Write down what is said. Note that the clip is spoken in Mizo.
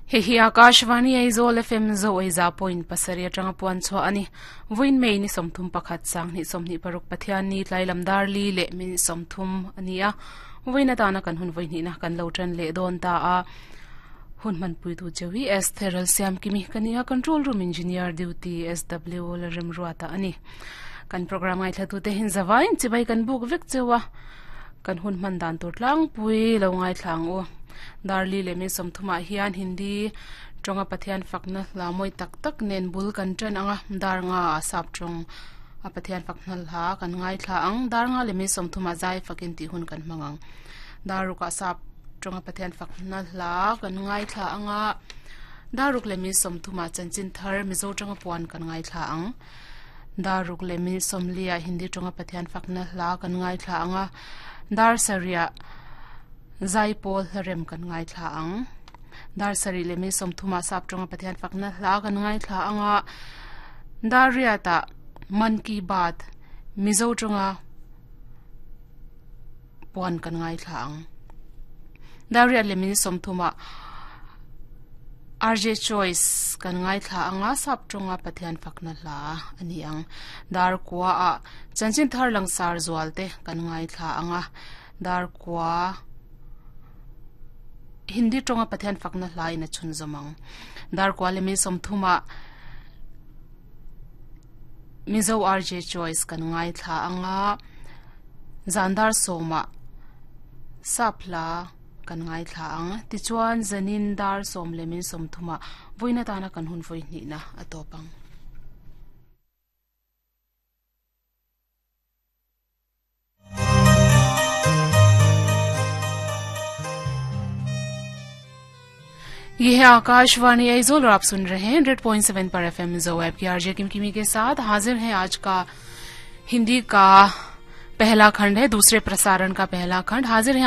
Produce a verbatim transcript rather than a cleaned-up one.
He hi Akashvani Aizawl F M zo aiza point pasari atanga puan chho ani voin mei ni somthum pakhat sang ni somni paruk pathian ni tlai lamdar li le min somthum ania voin atana kan hun voin ni na kan lo tran le don ta a hun man pui tu chewi S Theral Siam kimi kania control room engineer duty S W la rem ruata ani kan program ai thatu te hin zawain chibai kan buk vek chewa kan hun man dan tur tlang pui lo ngai thlang o darli le me somthuma hian hindi tonga pathian fakna lamoi tak tak nen bul kan tran anga darnga sap tong a pathian fakna la kan ngai thla ang darnga le me somthuma zai fakin ti hun kan mangang daruka sap tonga pathian fakna la kan ngai thla anga daruk le me somthuma chanchin thar mizo tonga puan kan ngai thla ang daruk le me somlia hindi tonga pathian fakna la kan ngai thla anga dar saria zai pol rem kan ngai thla ang dar sari le me somthuma sap tonga pathian fakna hla kan ngai thla anga daria ta man ki baat mizo tonga puan kan ngai thla ang daria le me somthuma R J Choice kan ngai thla anga sap tonga pathian fakna hla ani ang dar kwa a chanchin thar langsar zualte kan ngai thla anga dar kwa hindi tonga pathian fakna hlai na chun zamang dar kwale mi somthuma mizo R J Choice kan ngai thla anga zandar soma sapla kan ngai thla ang ti chuan zanin dar som le min somthuma voina tana kan hun voi ni na atopang. ये है आकाशवाणी आइजोल और आप सुन रहे हैं hundred point seven पर F M जो ऐप की आरजे किमकिमी के साथ हाजिर हैं। आज का हिंदी का पहला खंड है, दूसरे प्रसारण का पहला खंड हाजिर है।